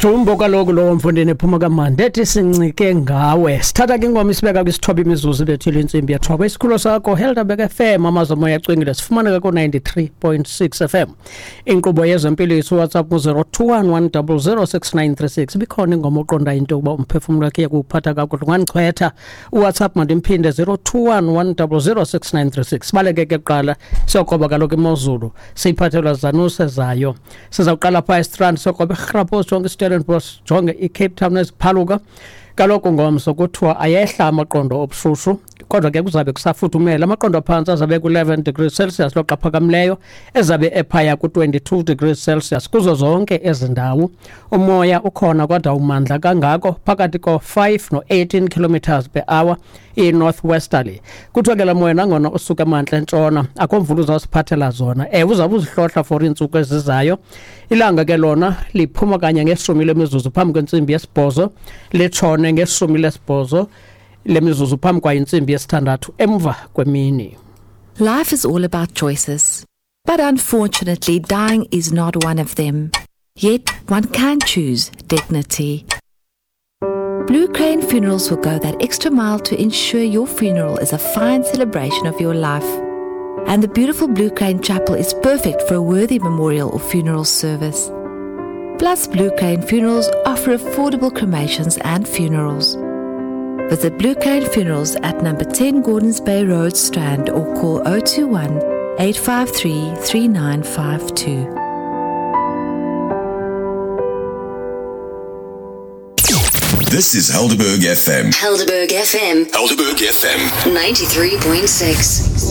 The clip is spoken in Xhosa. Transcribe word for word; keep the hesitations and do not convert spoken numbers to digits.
Jumbo kaloku lowo mfundini ephuma kamandi ethi sincike ngawe. Sithatha ke ingoma isibeka kwisithoba imizuzu bethile intsimbi yethoba. Isikhululo sakho Helderberg F M, amazwi omoya acwengile, sifumaneka ku ninety-three point six F M. Inkqubo yezempilo yethu WhatsApp ku zero two one one double zero six nine three six. Ibikhona ingoma oqonda into yokuba umphefumlo wakhe uyakuphatha kakuhle, ungandichwetha. UWhatsApp mandimphinde zero two one one double zero six nine three six. Sibaleke ke kuqala siyokoba kaloku imozulu siyiphathelwa zanuse zayo. Sizawuqala phaa eStrand siyokoba iRhapo, jonge iStellenbosch, jonge iCape Town eziphaluka. Kaloku ngomso kuthiwa ayehla amaqondo obushushu, kodwa ke kuzabe kusafuthumela. Amaqondo aphantsi azabe ku-eleven degrees Celsius, loxa aphakamileyo ezabe ephaya ku-twenty-two degrees Celsius. Kuzo zonke ezi ndawo umoya ukhona kodwa umandla kangako phakathi ko-five no-eighteen kilometers per hour i-northwesterly. Kuthiwa ke la moya nangona usuka emantla entshona akho mvula uzawusiphathela zona. Ewe, uzawube uzihlohla for iintsuku ezizayo. Ilanga ke lona liphuma kanye ngeshumi lemizuzu phambi kwentsimbi yesibhozo, litshone ngeshumi lesibhozo lemizuzu phambi kwayo intsimbi yesithandathu emva kwemini. Life is all about choices, but unfortunately dying is not one of them. Yet one can choose dignity. Blue Crane Funerals will go that extra mile to ensure your funeral is a fine celebration of your life. And the beautiful Blue Crane Chapel is perfect for a worthy memorial or funeral service. Plus, Blue Crane Funerals offer affordable cremations and funerals. Visit Blue Crane Funerals at number ten Gordons Bay Road, Strand, or call oh two one, eight five three, three nine five two. This is Helderberg F M. Helderberg F M. Helderberg F M. ninety-three point six.